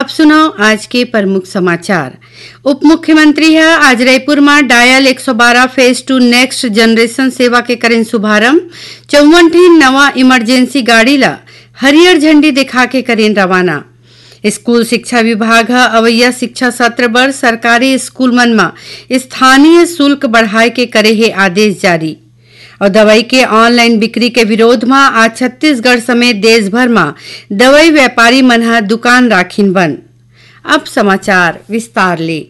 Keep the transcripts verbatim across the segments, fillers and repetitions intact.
सुनव आज के प्रमुख समाचार। उप मुख्यमंत्री ह आज रईपुर म डायल एक सौ बारह फेज टू नेक्स्ट जनरेशन सेवा के करेन शुभारंभ। चौवन ठिन नवा इमरजेंसी गाड़ी ल हरियर झंडी दिखा के करेन रवाना। स्कूल शिक्षा विभाग ह अवइया शिक्षा सत्र बर सरकारी स्कूल मन म स्थानीय शुल्क बढ़ाए के करे हे आदेश जारी। अउ दवाई के ऑनलाइन बिक्री के विरोध म आज छत्तीसगढ़ समेत देश भर म दवाई व्यापारी मन ह दुकान राखिन बंद। अब समाचार विस्तार ले।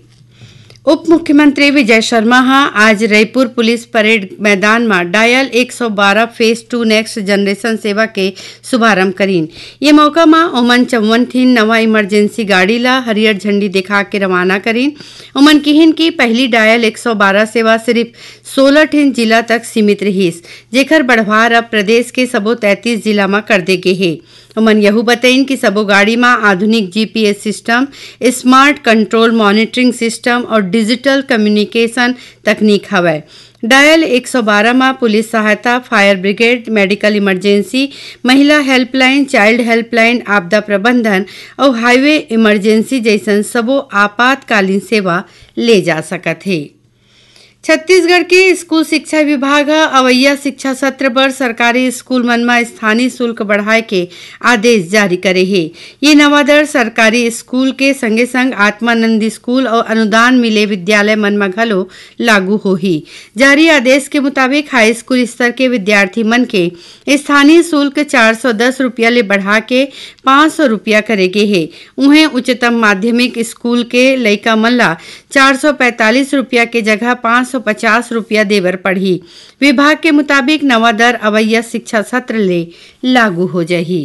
उप मुख्यमंत्री विजय शर्मा ह आज रईपुर पुलिस परेड मैदान म डायल एक सौ बारह फेज टू नेक्स्ट जनरेशन सेवा के शुभारंभ करीन। ये मौका म ओमन चौवन ठिन नवा इमरजेंसी गाड़ी ल हरियर झंडी दिखा के रवाना करीन। ओमन किहिन कि पहली डायल एक सौ बारह सेवा सिर्फ सोलह ठिन जिला तक सीमित रिहिस, जेकर बढ़वार अब प्रदेश के सबो तैंतीस जिला म कर दे गे हे। ओमन यहू बतइन कि सबो गाड़ी म आधुनिक GPS system, smart control monitoring system और डिजिटल कम्युनिकेशन तकनीक हवय। डायल एक सौ बारह म पुलिस सहायता, फायर ब्रिगेड, मेडिकल इमरजेंसी, महिला हेल्पलाइन, चाइल्ड हेल्पलाइन, आपदा प्रबंधन अउ हाईवे इमरजेंसी जइसन सबो आपातकालीन सेवा ले जा सकत हे। छत्तीसगढ़ के स्कूल शिक्षा विभाग ह अवइया शिक्षा सत्र बर सरकारी स्कूल मन म स्थानीय शुल्क बढ़ाए के आदेश जारी करे हे। ये नवा दर सरकारी स्कूल के संगे संग आत्मानंद स्कूल अउ अनुदान मिले विद्यालय मन म घलो लागू होही। जारी आदेश के मुताबिक हाई स्कूल स्तर के विद्यार्थी मन के स्थानीय शुल्क चार सौ दस रुपया ले बढ़ा के पाँच सौ रुपया करे गे हे। उहें, उच्चतम माध्यमिक स्कूल के लइका मन ला चार सौ पैंतालीस रुपया के जगह पाँच सौ पचास रुपया दे बर पड़ही। विभाग के मुताबिक, नवा दर अवइया शिक्षा सत्र ले लागू हो जाही।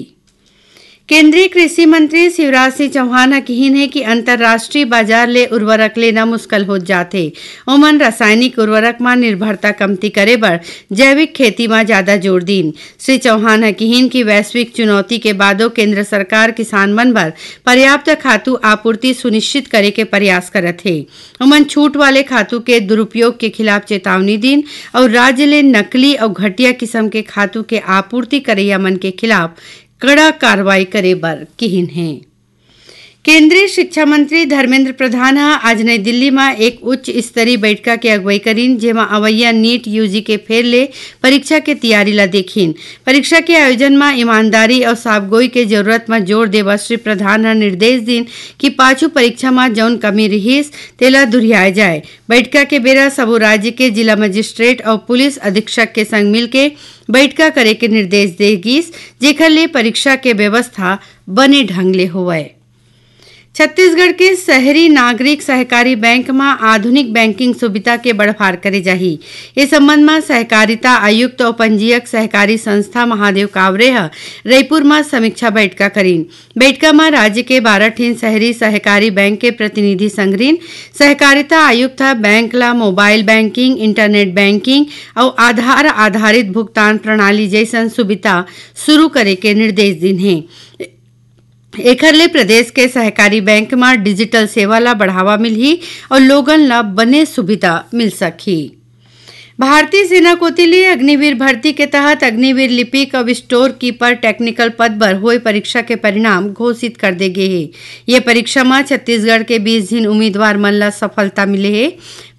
केंद्रीय कृषि मंत्री शिवराज सिंह चौहान ह किहिन हे कि अंतर्राष्ट्रीय बाजार ले उर्वरक लेना मुश्किल होत जात हे। ओमन रासायनिक उर्वरक म निर्भरता कमती करे बर जैविक खेती म ज्यादा जोर दीन। श्री चौहान ह किहिन कि वैश्विक चुनौती के बादो केंद्र सरकार किसान मन बर पर्याप्त खातू आपूर्ति सुनिश्चित करे के प्रयास करत हे। ओमन छूट वाले खातू के दुरुपयोग के खिलाफ चेतावनी दीन अउ राज्य ले नकली अउ घटिया किसम के खातू के आपूर्ति करइया मन के खिलाफ कड़ा कार्रवाई करे बर किहिन हे। केंद्रीय शिक्षा मंत्री धर्मेंद्र प्रधान ह आज नई दिल्ली म एक उच्च स्तरीय बैठका के अगुवाई करीन, जेमा अवइया नीट यूजी के फेर ले परीक्षा के तैयारी ला देखिन। परीक्षा के आयोजन म ईमानदारी अउ साफगोई के जरूरत म जोर देवत श्री प्रधान ह निर्देश दीन कि पाछू परीक्षा म जउन कमी रिहिस, तेला दुरिहाए जाए। बैठका के बेरा सबो राज्य के जिला मजिस्ट्रेट अउ पुलिस अधीक्षक के संग मिलके बैठका करे के निर्देश दे गिस, जेखर ले परीक्षा के व्यवस्था बने ढंग ले होवय। छत्तीसगढ़ के शहरी नागरिक सहकारी बैंक म आधुनिक बैंकिंग सुविधा के बढ़वार करे जाही। ए संबंध म सहकारिता आयुक्त अउ पंजीयक सहकारी संस्था महादेव कावरे ह रईपुर म समीक्षा बैठका करीन। बैठका म राज्य के बारह ठिन शहरी सहकारी बैंक के प्रतिनिधि संघरीन। सहकारिता आयुक्त ह बैंक ल मोबाइल बैंकिंग, इंटरनेट बैंकिंग अउ आधार आधारित भुगतान प्रणाली जइसन सुविधा शुरू करे के निर्देश दीन हे। एखर ले प्रदेश के सहकारी बैंक म डिजिटल सेवा ल बढ़ावा मिलही अउ लोगन ल बने सुविधा मिल सकही। भारतीय सेना कोति ले अग्निवीर भर्ती के तहत अग्निवीर लिपिक अउ स्टोर कीपर टेक्निकल पद बर होए परीक्षा के परिणाम घोषित कर दे गे हे। ये परीक्षा म छत्तीसगढ़ के बीस झिन उम्मीदवार मन ल सफलता मिले हे।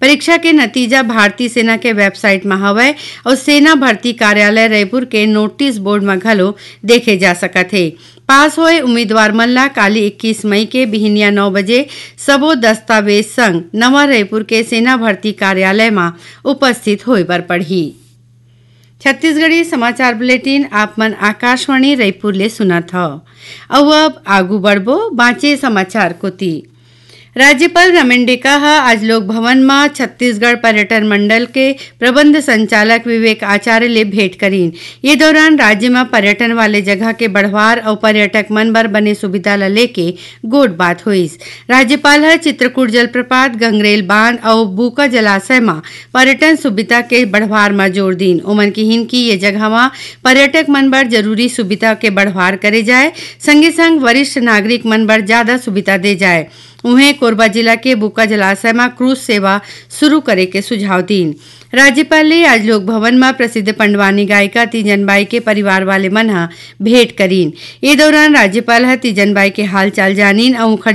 परीक्षा के नतीजा भारतीय सेना के वेबसाइट म हवय अउ सेना भर्ती कार्यालय रायपुर के नोटिस बोर्ड म घलो देखे जा सकत हे। पास होए उम्मीदवार मन ला काली इक्कीस मई के बिहिनिया नौ बजे सबो दस्तावेज संग नवा रायपुर के सेना भर्ती कार्यालय म उपस्थित होए बर पड़ही। छत्तीसगढ़ी समाचार बुलेटिन आप मन आकाशवाणी रायपुर ले सुनत हव। अउ अब आगू बढ़बो बांचे समाचार कोति। राज्यपाल रमेन डेका ह आज लोक भवन म छत्तीसगढ़ पर्यटन मंडल के प्रबंध संचालक विवेक आचार्य ले भेंट करीन। ये दौरान राज्य म पर्यटन वाले जगह के बढ़वार अउ पर्यटक मन बर बने सुविधा ल लेके गोठ बात होइस। राज्यपाल ह चित्रकूट जलप्रपात, गंगरेल बांध अउ बूका जलाशय म पर्यटन सुविधा के बढ़वार म जोर दीन। ओमन किहिन कि ये जगह म पर्यटक मन बर जरूरी सुविधा के बढ़वार करे जाए, संगे संग वरिष्ठ नागरिक मन बर ज्यादा सुविधा दे जाए। उहें, कोरबा जिला के बुका जलाशय म क्रूज सेवा शुरू करे के सुझाव दीन। राज्यपाल ले आज लोक भवन म प्रसिद्ध पंडवानी गायिका तीजन बाई के परिवार वाले मन ह भेंट करीन। ए दौरान राज्यपाल ह तीजन बाई के हालचाल जानिन अउ उंखर